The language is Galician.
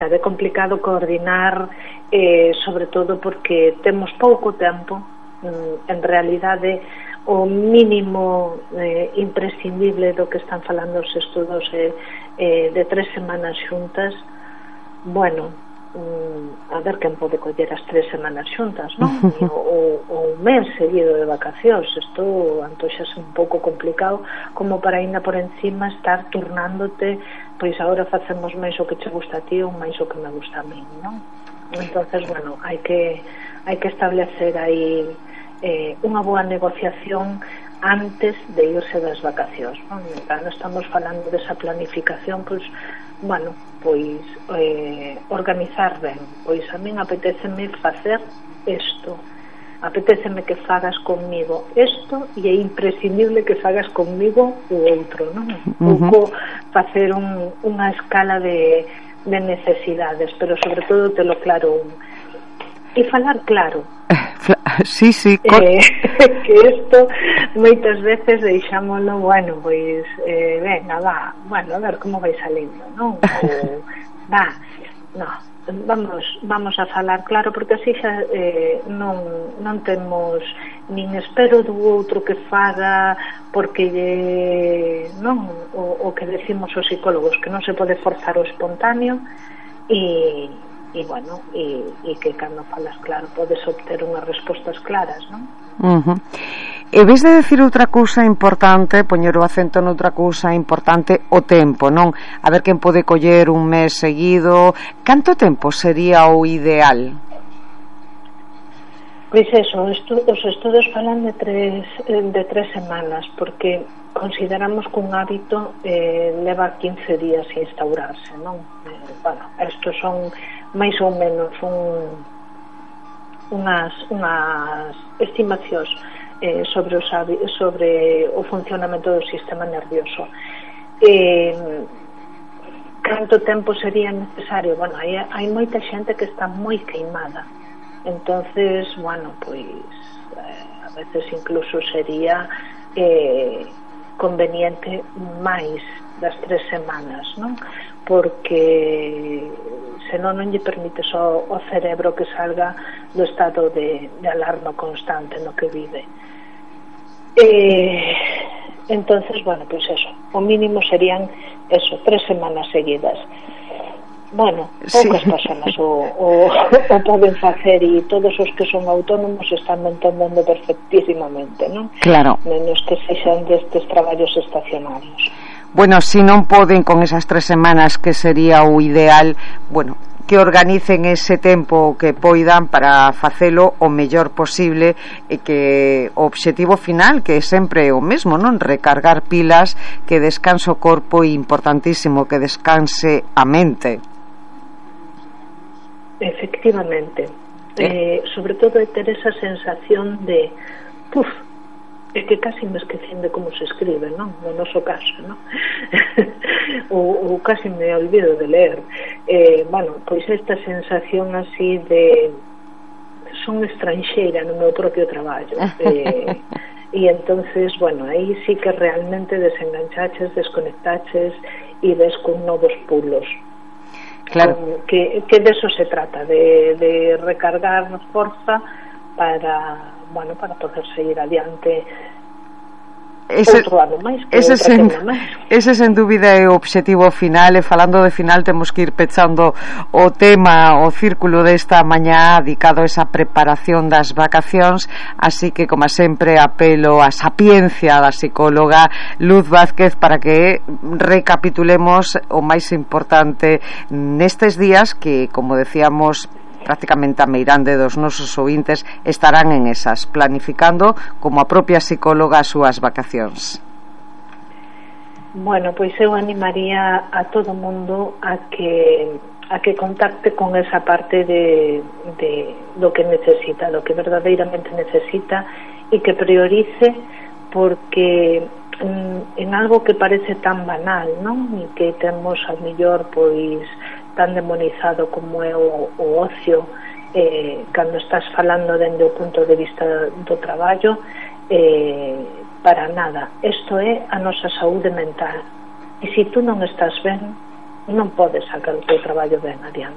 É complicado coordinar, sobre todo porque temos pouco tempo. En realidade, o mínimo imprescindible do que están falando os estudos de 3 semanas xuntas. Bueno, a ver quen pode coller as 3 semanas xuntas, non? O un mes seguido de vacacións. Isto antoxase un pouco complicado como para ainda por encima estar turnándote, pois agora facemos máis o que che gusta a ti ou máis o que me gusta a mí, non? Entonces, bueno, hai que establecer aí unha boa negociación antes de irse das vacacións, non? Cando estamos falando desa planificación, pois, bueno, pois organizar ben. Pois a min apetéceme facer isto, apetéceme que fagas conmigo isto, e é imprescindible que fagas conmigo o outro, non? Pouco facer unha escala de necesidades, pero sobre todo telo claro e falar claro. Sí, que isto moitas veces deixámoslo, bueno, pois venga, va, bueno, a ver como vai salindo, non? Ou, va, no, vamos a falar claro, porque así xa non temos nin espero do outro que faga, porque non, o que decimos os psicólogos, que non se pode forzar o espontáneo, e bueno, e que cando falas claro podes obter unhas respostas claras, non? E vez de decir outra cousa importante, poñer o acento noutra cousa importante, o tempo, non? A ver quen pode coller un mes seguido. Canto tempo sería o ideal? Pois eso, os estudos falan de 3 semanas, porque consideramos que un hábito leva 15 días a instaurarse, non? Bueno, estos son máis ou menos unhas estimacións sobre o funcionamento do sistema nervioso. Canto tempo sería necesario? Bueno, hai moita xente que está moi queimada, entonces, bueno, pois a veces incluso sería conveniente máis das 3 semanas, non? Porque senón non lle permite só o cerebro que salga do estado de alarma constante no que vive. Entonces, bueno, pois eso, o mínimo serían 3 semanas seguidas. Bueno, poucas persoas o poden facer, e todos os que son autónomos están entendendo perfectísimamente, non? Claro. Menos que sexan destes traballos estacionarios. Bueno, se non poden con esas 3 semanas, que sería o ideal, bueno, que organicen ese tempo que poidan para facelo o mellor posible, e que o obxectivo final, que é sempre o mesmo, non? Recargar pilas, que descanse o corpo, e importantísimo, que descanse a mente. Efectivamente. Sobre todo é ter esa sensación de é que casi me esquecín de como se escribe, non? No noso caso, non? ou casi me olvido de ler. Bueno, pois esta sensación así de son estranxeira no meu propio traballo. E entonces, bueno, aí sí que realmente desenganchaches, desconectaches e ves con novos pulos. Claro. Que de eso se trata, de recargar forza para poder seguir adiante outro ano máis, ese sen dúbida é o obxectivo final. E falando de final, temos que ir pechando o tema, o círculo desta mañá dedicado a esa preparación das vacacións, así que, como sempre, apelo á sapiencia da psicóloga Luz Vázquez para que recapitulemos o máis importante nestes días que, como decíamos, prácticamente a meirande dos nosos ouvintes estarán en esas, planificando como a propia psicóloga as súas vacacións. Bueno, pois eu animaría a todo mundo a que contacte con esa parte de do que necesita, do que verdadeiramente necesita, e que priorice, porque en algo que parece tan banal, non? E que temos ao mellor pois tan demonizado como é o ocio, cando estás falando dende o punto de vista do traballo, para nada. Isto é a nosa saúde mental, e se tú non estás ben, non podes sacar o teu traballo ben adiante.